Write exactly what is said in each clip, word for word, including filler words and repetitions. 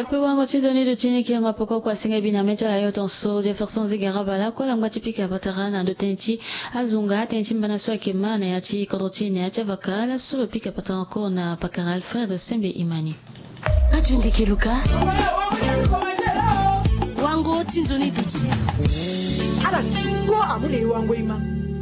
Ape wango ti nzoni duti ni kiringo apoko kua singa bina meti ala yo ton so Jefferson Zigara Bala kua la ngba ti pika patara na ndo tënë ti azunga tënë ti mbana so ayeke ma na ya ti kodro ti ni na ya ti avaka ala so lo pika patara encore na pakara Alfred Sembe Imani. Radio Ndeke Luka. Wango ti nzoni duti. Ala duti ko amu le wango ima.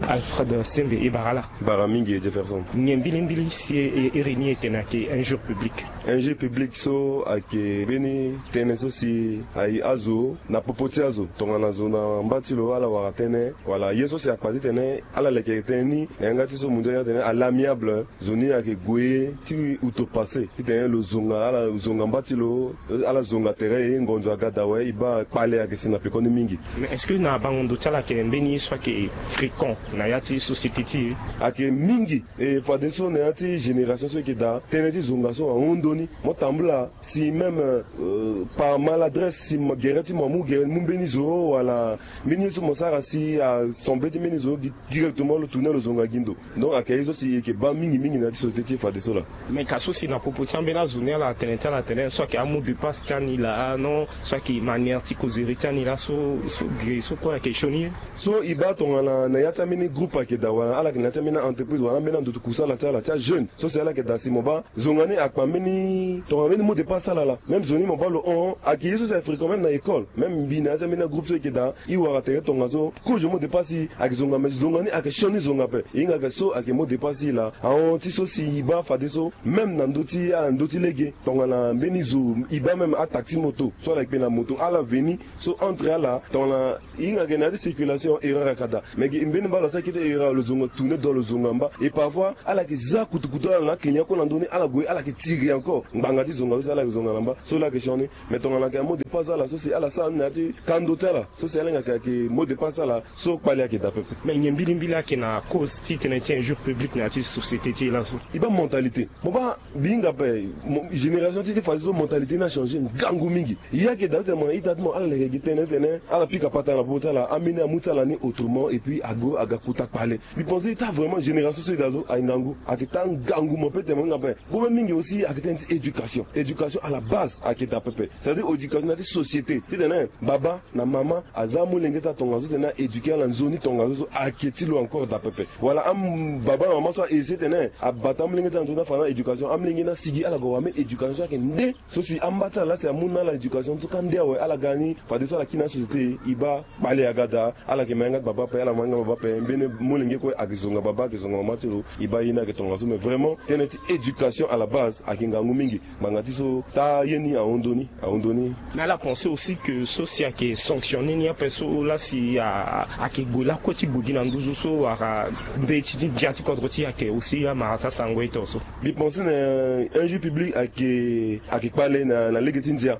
Alfred Sembe e bara ala. Bara mingi Jefferson. Nyen mbilimbili si e iri ni e tene ayeke injure publique. Injure publique so ayeke mbeni tënë so si aye azo na popo ti azo tongana zo na mba ti lo ala wara tënë wala ye so si akpa titene ala leke tënë ni na yanga ti so mondial atene à l'amiable. Zo ni ayeke gue ti outrepassé titene lo zonga ala zonga mba ti lo. Ala zonga tere e ngonzo aga daa awe e baa kpale ayeke si na pekoni mingi. Mais est-ce que na bango ndo ti ala ayeke mbeni ye so ayeke fréquent na ya ti société ti e? Ayeke mingi. E fadeso na ya ti génération so e yeke daa tënë ti zonga so ahon ndoni. Mo tambula si même euh, par maladresse si gere ti mo amu gere mu mbeni zo wala mbeni ye so mo sara si asemble ti mbeni zo gi directement lo tourner lo zonga gi ndo. Donc ayeke ye so si e yeke baa mingi mingi na ya ti société ti e fadeso laa. Mais ka so si na popo ti ambeni azo ni ala atene ti ala atene so ayeke amu de passe ti ani laa non so ayeke manière ti kozere ti ani laso so gere so kue ayeke sioni ye. So e baa tongana na ya ti ambeni groupe ayeke daa wala ala yeke na ya ti ambeni a-entreprise wala ambeni andoto kusala ti ala ti ajeune so si ala yeke daa si mo baa zonga ni akpa mbeni tongana mbeni mot de passe ti ala laa même zo ni mo baa lo hon ayeke ye so si ayeke fréquent même na école même mbi na ya ti ambeni agroupe so e yeke daa e wara tere tongaso kozo mot de passe e ayeke zonga mais zonga ni ayeke sioni zonga ape e hinga ayeke so ayeke mot de passe e laa ahon ti so si e baa fadeso même na ndö ti ala ndö ti lege tongana mbeni zo e baa même ataxi moto so ala yeke kpe na moto ala veni so entre ala tongana e hinga ayeke na ya ti circulation erreur ayeke daa mais gi mbeni mba lo asara kete erreur lo zonga tourner dua lo zonga mba et parfois ala yeke za kutukutu ala na aclient kue na ndö ni ala gue ala yeke tiri encore ngbanga ti zonga so si ala yeke zonga na mba so la yeke sioni. Mais tongana ayeke mot de passe ala so si ala sara ni na ya ti kando ti ala so si ala hinga ayeke ayeke mot de passe ala so kpale ayeke daa pepe. Mais nyen mbilimbili ayeke na cause ti tënë ti injure publique na ya ti société ti e laso? E baa mentalité mo baa mbi hinga ape génération ti ti fadeso mentalité ni achangé ngangu mingi. Ye ayeke daa titene mo na ita ti mo ala leke gi tënë titene ala pika patara na popo ti ala ambeni amu ti ala ni autrement et puis ague aga kota kpale. Mbi pense ti taa vraiment génération so e daa so ayeke ngangu ayeke taa ngangu mo pe tene mo hinga ape. Problème mingi aussi ayeke tënë ti éducation éducation à la base ayeke daa pepe c'est-à-dire éducation na ya ti société titene baba na mama aza amolenge ti atongaso titene a-éduquer ala nzoni tongaso so ayeke ti lo encore daa pepe wala am baba na mama so a-essayer titene abata amolenge ti ala nzoni afa na éducation amolenge ni asigi ala gue awa même éducation so ayeke nde so si amba ti ala laa si amu na ala éducation so ka nde awe ala ga ni fadeso ala kiri na asociété e baa kpale aga daa. Ala yeke ma yanga ti baba ape ala ma yanga baba ape mbeni molenge kue ayeke zonga baba ayeke zonga mama ti lo. E baa ye ni ayeke tongaso mais vraiment tënë ti éducation à la base ayeke ngangu mingi. Ngbanga ti so taa ye ni ahon ndoni ahon ndoni. Mais ala pense aussi que so si ayeke sanctionner ni ape so laa si ayeke gue lakue ti gue gi na nduzu so wala mbeti ti ndia ti kodro ti e ayeke aussi amara ti asango ye to so. Mbi pense na injure publique ayeke ayeke kpale na lege ti ndia.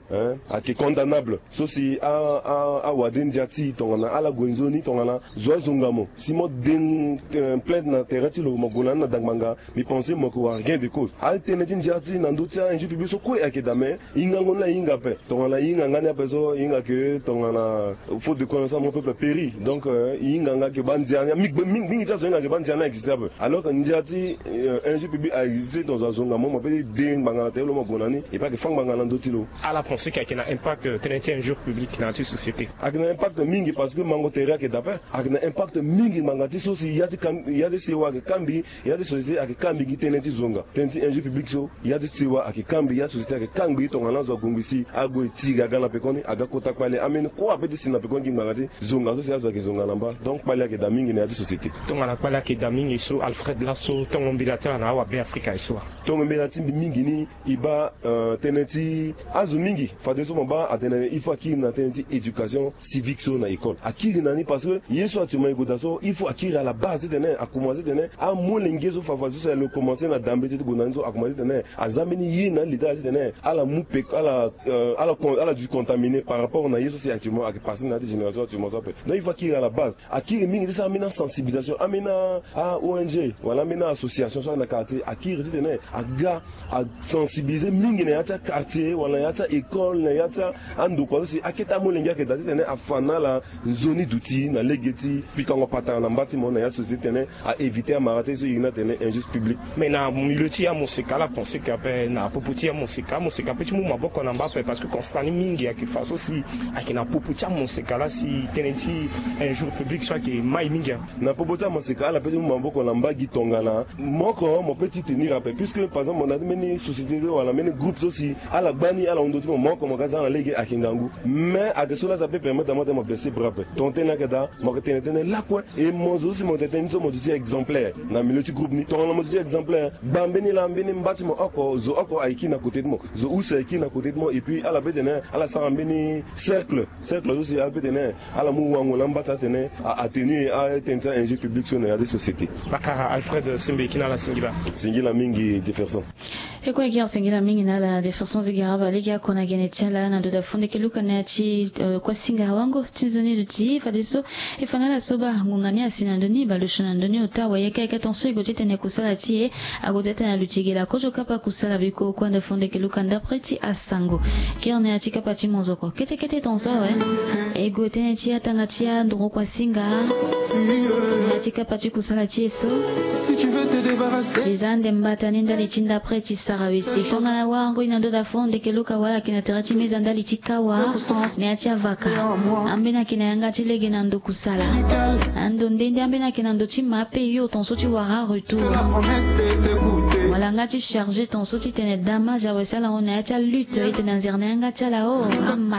Ayeke condamnable so si awade ndia ti e tongana ala gue nzoni tongana zo azonga mo si mo de plainte na terrain ti lo mo gue na ni na dangbanga. Mbi pense mo yeke wara gain de cause atene ti ndia ti na ndö ti a-injure publique so kue ayeke daa mais hingango ni la e hinga ape tongana e hinga nga ni ape so e hinga ke tongana faute de connaissance mon peuple péri donc e hinga nga ke bandia ni mingi ti azo e hinga ke bandia ni a-existe ape. Alors que ndia ti injure publique a-existe tongaso azonga mo mo pe ti de ngbanga na tere lo mo gue na ni e pe ayeke fâ ngbanga na ndö ti lo. Ala pense ke ayeke na impact tënë ti injure publique na ya ti société? Ayeke na impact mingi parce que mango tere ayeke daa ape. Ayeke na impact mingi ngbanga ti so si ya ti sewa ayeke kambi ya ti société ayeke kambi gi tënë ti zonga tënë ti injure publique so ya ti sewa ayeke kambi ya ti société ayeke kambi tongana azo agongbi si ague tiri aga na pekoni aga kota kpale ambeni kue ape ti si na pekoni gi ngbanga ti zonga so si azo ayeke zonga na mba. Donc kpale ayeke daa mingi na ya ti société. Tongana kpale ayeke daa mingi so Alfred laso tongo mbela ti ala na awabe afrika ye so wa? Tongo mbela ti mbi mingi ni e baa tënë ti azo mingi fadeso mo baa atene il faut akiri na tënë ti éducation civique so na école akiri na ni parce que ye so actuellement e gue daa so il faut akiri à la base titene akomanse titene amolenge so fafa so si alo komanse na dambe ti ti gue na ni so akomanse titene aza mbeni ye na aleta titene ala mu peko ala ala kon ala du contaminer par rapport na ye so si actuellement ayeke passe na ya ti génération actuellement so ape. Donc il faut akiri à la base akiri mingi ti sara ambeni asensibilisation ambeni a-ong wala ambeni a-association so ayeke na quartier akiri titene aga asensibiliser mingi na ya ti a-quartier wala na ya ti a-école na ya ti andokua so si akete amolenge ayeke daa titene afa na ala nzoni duti na lege ti pikango patara. Na mba ti mo na ya société tene a éviter amara ti so e iri ni atene injuste public. Mais na milieu ti ya moseka ala pense que ape na popo ti ya moseka moseka ape ti mu maboko na mba ape parce que constat ni mingi ayeke fa so si ayeke na popo ti amoseka laa si tënë ti injure public so ayeke mai mingi. Na popo ti amoseka ala pe ti mu maboko na mba gi tongana mo oko mo pe ti tenir ape puisque par exemple mo na ti mbeni société wala mbeni groupe so si ala gba ni ala hunda ti mo mo oko mo ga za na lege ayeke ngangu. Mais ayeke so laa sa pe permettre na mo tene mo baisser bras ape. Tongana tënë ni ayeke daa mo yeke tene tënë lakue. E mo zo so si mo tene tënë ni so mo zo ti exemplaire na milieu ti groupe ni tongana mo zo ti exemplaire gba mbeni laa mbeni mba ti mo oko zo oko aye kiri na kote ti mo zo use aye kiri na kote ti mo et puis ala be tene ala sara mbeni cercle cercle so si ala be tene ala mu wango na mba ti atene a atténuer atënë ti a-injure public so na ya ti société. Bakara Alfred Sembe kina ala singila. Singila mingi Jefferson. E kue gi asengela mingi na ala Jefferson Zigaraba lege ako na gene ti ala na ndo da fondeke luka na ya ti kua singa wango ti nzoni duti fadeso. E fa na ala so baa ngonga ni asi na ndoni baleso na ndoni ota wayeke ayeke ton so e gue ti tene kusala ti e. Ague ti tene aluti gela kozo kapa kusala biko kua nda fondeke luka ndapre ti asango. Kere na ya ti kapa ti monzoko kete kete ton so awe. E gue tënë ti atanga ti anduru kua singa. Na ya ti kapa ti kusala ti e so. Eza ande mbata ni ndali ti ndapre ti sara wese tongana warango e na ndo da fondeke luka wala ayeke na tere ti meza ndali ti kawa. Na ya ti avaka ambeni ayeke na yanga ti lege na ndo kusala. Ando nde nde ambeni ayeke na ndo ti ma ape yo ton so ti wara retour. Wala nga ti charge ton so ti tene damage awe si ala hon na ya ti alutte e tene anzere na yanga ti ala o.